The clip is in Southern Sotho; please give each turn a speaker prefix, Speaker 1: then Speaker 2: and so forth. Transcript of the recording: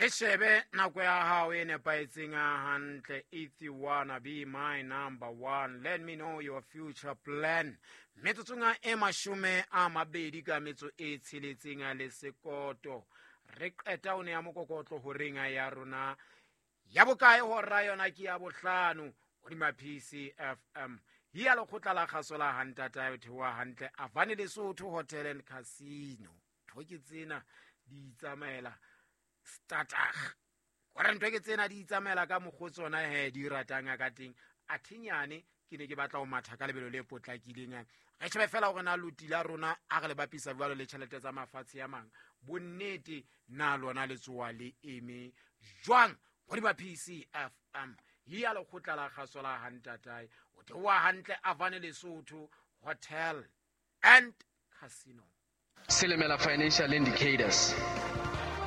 Speaker 1: E shebe nako ya hao e nepahetseng hantle. If you wanna be my number one, let me know your future plan. Metsotsong e 20 ka metso e tsheletseng le sekoto, re qeta o ne ya mokokotlo horeng ya rona ya bokae? Hora yona ke ya bohlano hodima PCFM ya lekgotla la kgaso la hantata o theoha hantle Avane Lesotho Hotel and Casino. Ntho ke tsena di itsamaela statag kore ntho ke tsena di itsamaela ka mokgwa tsona he di ratang ka teng. Athenyane ke ne ke batla ho matha ka lebelo le potlakileng. Re shebe fela hore na loti la rona a re le bapisa jwalo le tjhelete tsa mafatshe a mang, bonnete na lona le tsoa le eme jwang hodima PCFM ya lekgotla la kgaso la hantatae o theoha hantle Avane Lesotho Hotel and Casino.
Speaker 2: Silimela Financial Indicators.